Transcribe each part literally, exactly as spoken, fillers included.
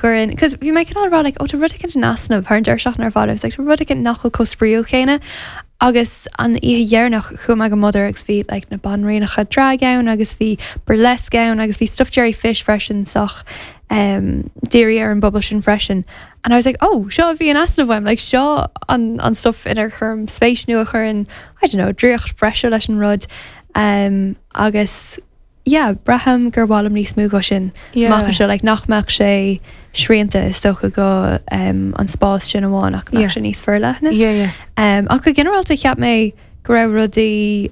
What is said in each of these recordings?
Cuireann cos bhí mé cineál rá like, ó tá rud éicint in easnamh thar an deireadh seachtaine ar fad agus like, rud éicint nach bhfuil chomh spraíúil céanna agus an oíche dheireanach chuaigh mé go Mother agus bhí like, na banríonacha drag ann agus bhí burlesque ann agus bhí stuff Jerry Fish freisin sách um, dírithe ar an bpobal sin freisin. And I was like, oh, seo bhí an easnamh uaim, like seo an, an stuff inar chuir spéis nó a chuireann I don't know, draíocht breise leis an rud um, agus yeah, braithim gur mhaith liom níos mó go sin Yeah. Mach seo like, nach mbeadh sé srianta is dócha go um, an spás sin amháin ach Yeah. yeah. sé níos forleithne. Yeah, yeah. Um, ach go ginearálta cheap mé go raibh rudaí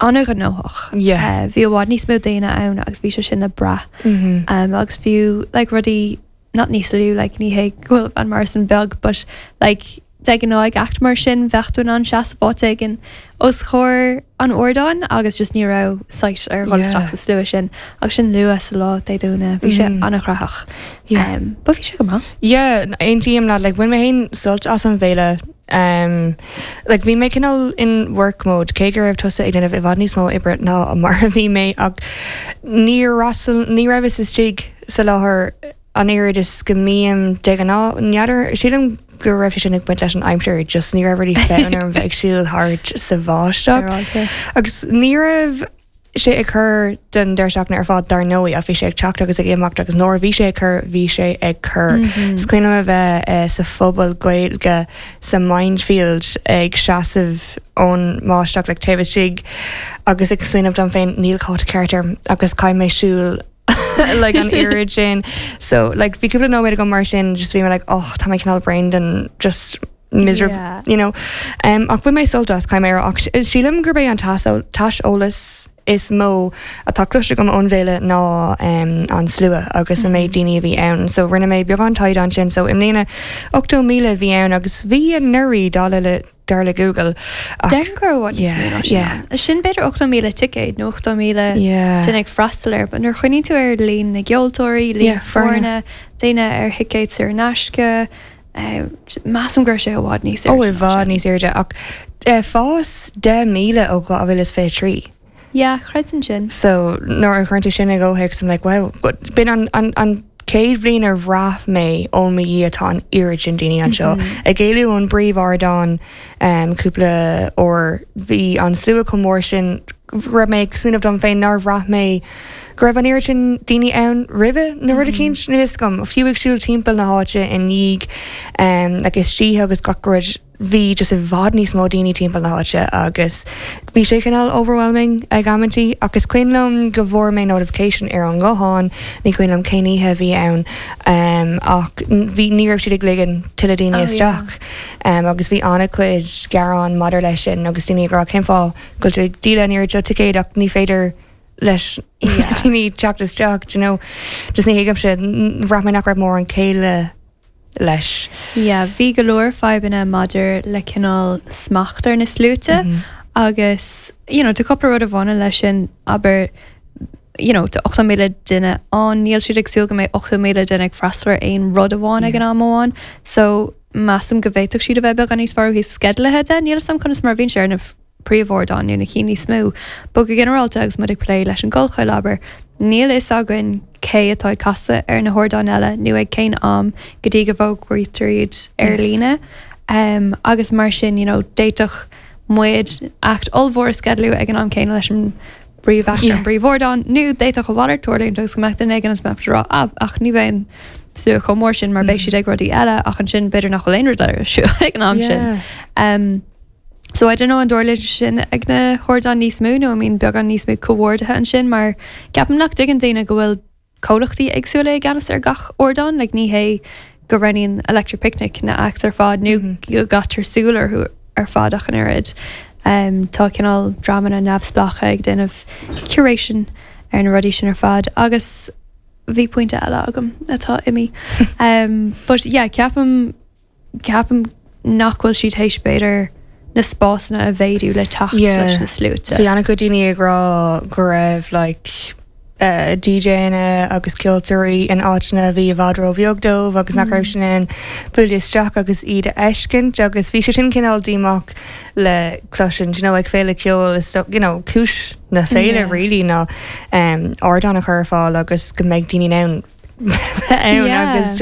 an-ghnóthach. Yeah. Uh, bhí i bhfad níos mó daoine ann agus bhí sé sin le brath. Mm -hmm. Um, agus fiú like, rudaí not níos lú like, ní hé go bhfuil Van Morrison beag, but like, de ghnáth ag act mar sin bheadh tú in ann seasamh áit éigin os comhair an ardáin agus just ní raibh sight ar dhul Yeah. isteach sa slua sin agus sin luath sa lá Dé Domhnaigh bhí sé Mm. an-chraiceach. Yeah. Um, but bhí sé go maith. Yeah, aontaím leat like bhain mé féin sult as an bhféile um, like bhí mé cineál in work mode cé go raibh tusa ag déanamh i bhfad níos mó oibre ná mar a bhí mé ach níor fhreastail ní rabhas istigh sa láthair an oiread is go mbím de ghnáth n'fheadar sílim go raibh sé sin ag baint leis an aimsir just ní raibh really fonn orm bheith ag siúl thart sa bháisteach Féaráilte. agus ní raibh sé ag cur den deireadh seachtaine ar fad dar ndóigh a bhí sé ag teacht agus ag imeacht agus nuair bhí sé ag cur bhí sé ag cur. Is cuimhin liom a bheith eh, sa phuball Gaeilge sa Mindfield ag seasamh ón mbáisteach le taobh istigh agus ag smaoineamh dom féin níl cóta ceart orm agus caithfidh mé siúl like an oiread sin so like bhí cúpla nóiméad agam mar sin just bhí mé like oh tá mé cineál brain just miserable Yeah. you know um, ach bhain mé sult as caithfidh mé ach sílim gurb é an t-aiseolas is mó atá cloiste agam ón bhféile ná um, an slua agus an méid daoine a bhí ann so rinne mé beagán taighde ansin so i mbliana ochtó míle bhí ann agus bhí anuraidh dar le dar le Google ach- Deir go bhfuil Yeah, yeah. Sin b'fhéidir ochtó míle ticéad nó ochtó míle Yeah. duine ag freastal air, but nuair a chuireann tú ar líon na gceoltóirí, líon Yeah, foirne. foirne, daoine ar thicéid saor in aisce, eh, measaim gur sé i bhfad níos ó airde i ná bhfad sin. níos airde ach eh, fás deich míle ó dhá mhíle is fiche trí. Yeah, chreidim sin. So nuair a chuireann tú sin i gcomhthéacs I'm like wow, but b'in an, an, an chéad bhliain ar bhraith mé ó mo Dhia tá an oiread sin daoine anseo. Ag éalú ón bpríomhardán um, cúpla uair bhí an slua chomh mór sin raibh mé ag smaoineamh dom féin nár bhraith mé go raibh an oiread sin daoine ann roimhe na rud éicint níl a fhios agam fiú ag siúl timpeall na háite i ndiaidh um, agus istigh agus gach rud bhí just i bhfad níos mó daoine timpeall na háite agus bhí sé cineál overwhelming ag amantaí agus cuimhin liom go bhfuair mé notification ar an nguthán ní cuimhin liom cén oíche a bhí ann um, ach bhí ní raibh siad ag ligean tuilleadh daoine Oh, isteach um, agus bhí an-chuid gearán maidir leis sin agus daoine ag rá cén fáth go bhfuil tú ag díol an oiread seo ticéad ach ní féidir leis Yeah. daoine teacht isteach you know just ní thuigim sé bhraith mé nach raibh mórán céille leis. Yeah, bhí go leor fadhbanna maidir le cineál smacht ar na sluaite Mhm. agus you know, tá cúpla rud a bhaineann leis sin aber you know, tá ochtó míle duine ann níl siad ag súil go mbeidh ochtó míle duine ag freastal ar aon rud amháin ag an am amháin, so measaim go bhféadfadh siad a bheith beagán níos fearr ó thaobh sceidealaithe de, níl a fhios agam conas mar bhíonn sé ar na príomhardáin nó na cinn níos mó. But go ginearálta agus muid ag plé leis an gCollchoill abair, níl fhios againn cé atá ag casadh ar na hardáin eile nó ag cén am go dtí go bhfógraítear iad ar Yes. líne. Um, agus mar sin you know, d'fhéadfadh muid act ollmhór a sceidealú ag an am céanna leis an bpríomh Yeah. an bpríomhardán nó d'fhéadfadh a mhalairt tarlúint agus go mbeadh duine éigin is mbeadh rá ah, ach ní bheidh an slua chomh mór sin mar beidh siad ag rudaí eile ach ansin b'fhéidir nach bhfuil aon rud eile ar siúl ag an am sin. Yeah. Um, so I don't know an dtarlaíonn sin ag na hardáin níos mó nó I mean beagán níos mó comhordaithe ansin mar ceapaim nach dtuigeann daoine go bhfuil comhlachtaí éagsúla i gceannas ar gach ardán, like ní hé go roghnaíonn Electric Picnic na acts ar fad nó go gcaitear súil orthu ar fad ach an oiread. Um, tá cineál dreamanna neamhspleácha ag déanamh curation ar na rudaí sin ar fad agus bhí pointe eile agam atá imithe. um, but yeah, ceapaim ceapaim nach bhfuil siad théis b'fhéidir na spásanna a mhéadú le teacht Yeah. leis na sluaite. Bhí an-chuid daoine ag rá go raibh like uh, DJanna agus ceoltóirí in áiteanna a bhí i bhfad róbheag dóibh agus nach raibh sin in bualadh isteach agus iad a fheiscint agus bhí sé sin cineál díomách le cloisint you know, ag féile ceoil is you know, cúis na féile Yeah. really ná um, ardán a chur ar fáil agus go mbeidh daoine ann ann Yeah. agus